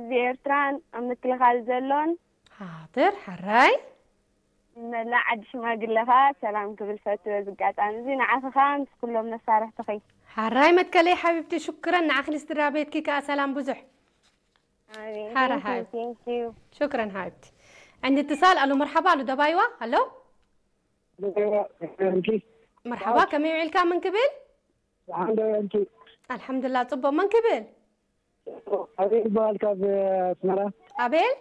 ህዝቢ ኤርትራን ኣብ ምክልኻል ዘሎን ሓድር ሓራይ መላእ ዓዲ ሽማግለኻ ሰላም ክብል ፈቱ። በዚ ኣጋጣሚ እዚ ንዓኺ ኸኣ ምስ ኩሎም መሳርሕትኺ። ሓራይ መትከለይ ሓቢብቲ ሽክረን ንዓኽን ስድራ ቤትኪ ከኣ ሰላም ብዙሕ። ኣሜን። ሓራ Thank you, ሓይ። thank you። ሽክረን ሓቢብቲ። ዕንዲ ትሳል ኣሉ መርሓባ ኣሉ ደባይዋ ኣሎ። እንኪ መርሓባ ከመይ ውዒልካ መን ክብል? ሓንደ እንኪ ኣልሓምዱላ ጽቡቕ መን ክብል? ኣቤል ይበሃል ካብ ኣስመራ። ኣቤል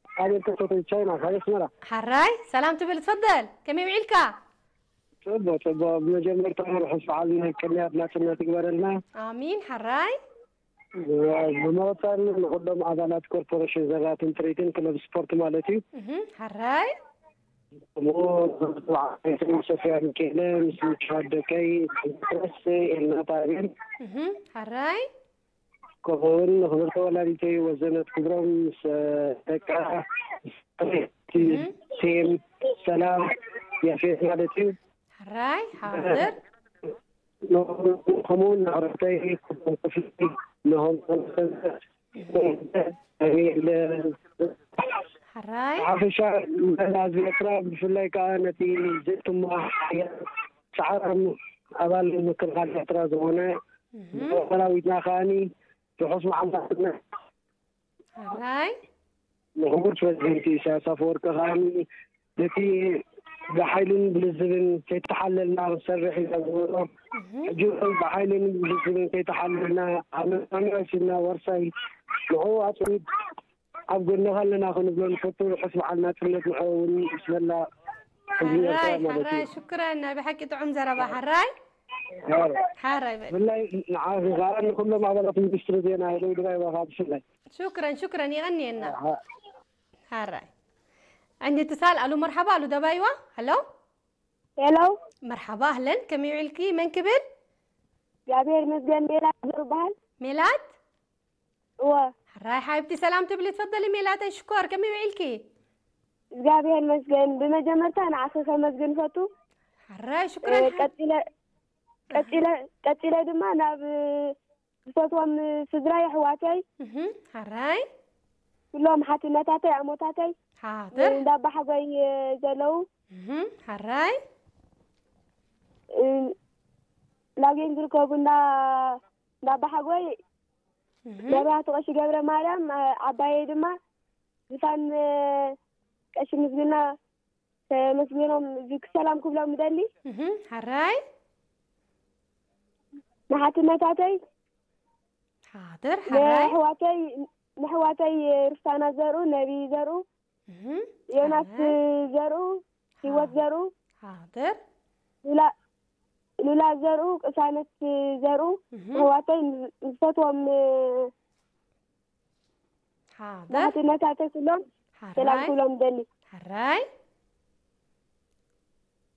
ኣቤል ከተተ ቻይና ካብ ኣስመራ። ሓራይ ሰላም ትብል ትፈደል ከመይ ውዒልካ? ጽቡቅ ጽቡቅ። ብመጀመርታ ርሑስ በዓል ናይ ቅንያት ናጽነት ይግበረልና። ኣሚን ሓራይ ብመቐጸል ንኩሎም ኣባላት ኮርፖሬሽን ዘራትን ትርኢትን ክለብ ስፖርት ማለት እዩ። እህ ሓራይ ከምኡ ንክብርቲ በዓል ሶፊያ ሚካኤለ ምስ ምችዋት ደቀይ ፕረስ ኤልናታ ኣቤል እህ ሓራይ ከምኡ እውን ንክብርቲ ወላዲተይ ወዘነት ክብሮም ምስ ደቃ ሴም ሰላም ያፌት ማለት እዩ። ሓራይ ሓድር ከምኡ እውን ንዕረፍተይ ክፍሊ ንሆም ሓራይ ሓራይ ሓፈሻ መላ ህዝቢ ኤርትራ ብፍላይ ከዓ ነቲ ዘይትማ ሓያል ሰዓራም ኣባል ምክልኻል ኤርትራ ዝኾነ ሰራዊትና ከዓኒ ርሑስ መዓልቲ ሓራይ ንክቡር ፕረዚደንት ኢሳያስ ኣፈወርቂ ከዓኒ ነቲ ብሓይልን ብልዝብን ከይተሓለልና ክንሰርሕ ኢና ዝበሎ ሕጂ እውን ብሓይልን ብልዝብን ከይተሓለልና ኣብ መናምያ ሲና ዋርሳይ ንዕኡ ኣፅቢት ኣብ ጎንኻ ኣለና ክንብሎ ንፈቱ። ርሑስ በዓል ናፅነት ንዕኡ እውን ምስ መላእ ህዝቢ ኤርትራ ሓራይ ማለት ሓራይ እዩ። ሽክረን ናይ ብሓቂ ጥዑም ዘረባ ሓራይ ሓራይ በል ብፍላይ ንዓኺ ከዓ ንኩሎም ኣባላት ሚኒስትሪ ዜና ሄደው ድራይ ዋኻ ብፍላይ ሽክረን ሽክረን ይቐንየና ሓራይ ዕንዲ ትሳል ኣሉ መርሓባ ኣሉ ደባይዋ ኣሎ ሄሎ መርሓባ ኣህለን ከመይ ውዒልኪ መን ክብል እግዚኣብሔር ይመስገን። ሜላት ዝበሃል ሜላት እወ ሓራይ ሓቢብቲ ሰላም ትብሊ ትፈደሊ ሜላተይ ሽኮር ከመይ ውዒልኪ እግዚኣብሔር ይመስገን። ብመጀመርታ ንዓኺ ከመስግን ፈቱ። ሓራይ ሽክረን ሓ- ቀጺለ ቀጺለ ቀጺለ ድማ ናብ ዝፈትዎም ስድራይ ኣሕዋተይ እህ ሓራይ ኩሎም ሓትነታተይ ኣሞታተይ ሓድር እንዳባሓጎይ ዘለዉ እህ ሓራይ ላጌን ዝርከቡ እንዳ እንዳባሓጎይ እህ መብራህቲ ቀሺ ገብረ ማርያም ዓባየይ ድማ ዝፋን ቀሺ ምስግና ተመስገኖም እዚ ክሰላም ክብሎም ምደሊ እህ ሓራይ ንሓትነታተይ ሓድር ሓራይ ንሕዋተይ ንሕዋተይ ርሳና ዘርኡ ነቢ ዘርኡ እህ ዮናስ ሓራይ ዘርኡ ህይወት ዘርኡ ሓድር ሉላ ሉላ ዘርኡ ቅሳነት ዘርኡ እህ ኣሕዋተይ ዝፈትዎም ሓድር ናሕትነታተይ ኩሎም ሰላም ሓራይ ኩሎም ደሊ ሓራይ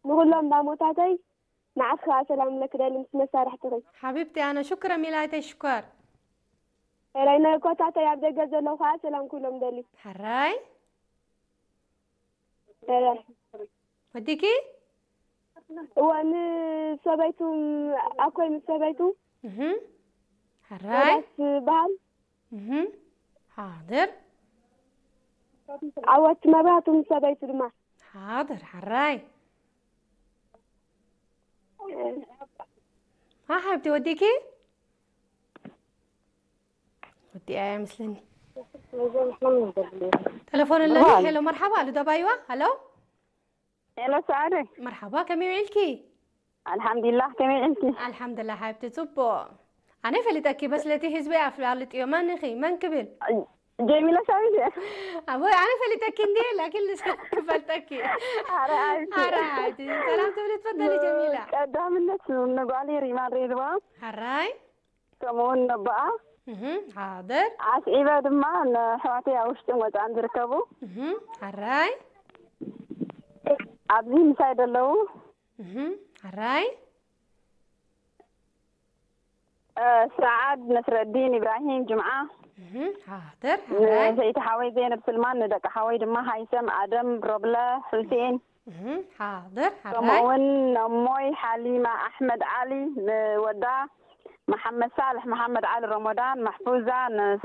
ንኩሎም ዳሞታተይ ንዓስ ከዓ ሰላም ለክደሊ ምስ መሳርሕትኺ ሓቢብቲ ኣነ ሽክረ ሚላይተይ ሽኮር ራይ ነኮታተይ ኣብ ደገ ዘለዉ ከዓ ሰላም ኩሎም ደሊ ሓራይ ራይ ወዲኪ እወ ንሰበይቱ ኣኮይ ምስ ሰበይቱ እህ ሓራይ ሮዳስ በሃል እህ ሓድር ዓወት መብራህቱ ምስ ሰበይቱ ድማ ሓድር ሓራይ ሓ ሓብቲ ወዲኪ ወዲኣ እያ መስለኒ ተለፎን ኣለኒ ሄሎ መርሓባ ኣሉ ደባይዋ ሃሎ ሄሎ ሰዓደ መርሓባ ከመይ ውዒልኪ ኣልሓምዱሊላህ ከመይ ውዒልኪ ኣልሓምዱላ ሓብቲ ጽቡቕ ኣነ ፈሊጠኪ በስለቲ ህዝቢ ኣፍላልጥዮ መን ኢኺ መን ክብል ጀሚላ ሳሚት እየ ኣቦይ ኣነ ፈሊጠኪ እንዲ ላኪን ንስ ክፈልጠኪ ኣረ ሓብቲ ኣረ ሓብቲ ሰላም ትብሊ ትፈደሊ ጀሚላ ቀዳምነት ንጓሊ ሪማን ሬድዋ ሓራይ ከምኡውን ነቦኣ እህ ሓድር ኣስዒበ ድማ ንኣሕዋተይ ኣብ ውሽጥን ወፃእን ዝርከቡ እህ ሓራይ ኣብዚ ምሳይ ዘለዉ እህ ሓራይ ሰዓድ ነስረዲን ኢብራሂም ጅምዓ እህ ሓድር ሓራይ ንሰይቲ ሓወይ ዘይነብ ስልማን ንደቂ ሓወይ ድማ ሃይሰም ኣደም ሮብለ ሑሴን እህ ሓድር ሓራይ ከምኡውን ነሞይ ሓሊማ ኣሕመድ ዓሊ ንወዳ መሓመድ ሳልሕ መሓመድ ዓሊ ረመዳን ማሕፉዛ